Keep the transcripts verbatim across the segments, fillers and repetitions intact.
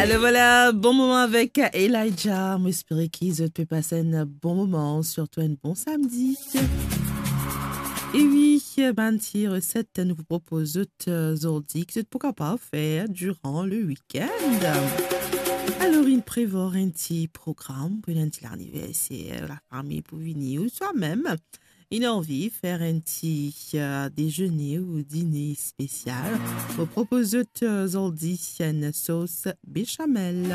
Alors voilà, bon moman avek Elijah. Mo espere ki zot pe pas enn bon moman, sirtou enn bon samdi. E wi, bann ti reset nou pou propoz zot, euh, zordi, ki zot pou kapav fer diran le week-end. Alors, inn prevwar enn ti program pou enn ti laniverser, lafami pou vini, ouswa mem inn anvi fer enn ti, euh, dezene ou dine spesial. Mo propoz zot, euh, zordi enn sos bechamel.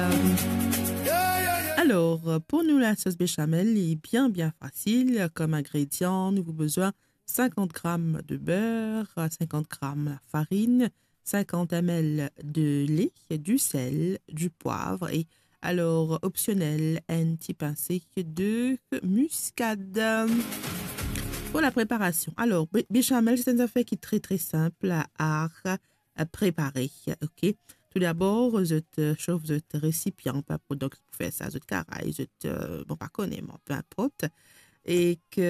Alors, pou nou, lasos bechamel, li bien, bien fasil. Kom ingredian, nou pou bezwin sinkant gram de ber, sinkant gram lafarin, sinkant M L de le, disel, dipwav e, alors, opsionel, enn ti pinse de miskad. Pou lapreparasion, alors, be-, bechamel, se enn zafer ki tre, tre sinp a, a prepare, ok? Toudabor, zot, euh, sof zot resipian, pe inport, donk pou fer sa, zot karay, zot, euh, bon, pa kone, me pe inport, e ki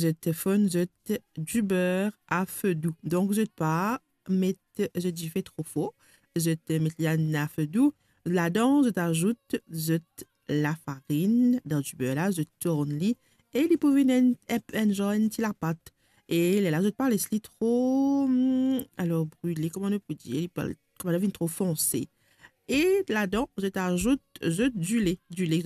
zot fonn zot diber a fe dou. Donk, zot pa met zot dife tro for, zot met li a fe dou. Ladan, zot azout zot lafarin dan diber la, zot tourn li, e li pou vinn enn, enn, enn zan enn ti lapat. E lerla, zot pa les li tro, hmm, alors, brile, kouma nou pou dir, li pa, kouma li vinn tro fonse. E ladan, zot azout zot dile, dile ki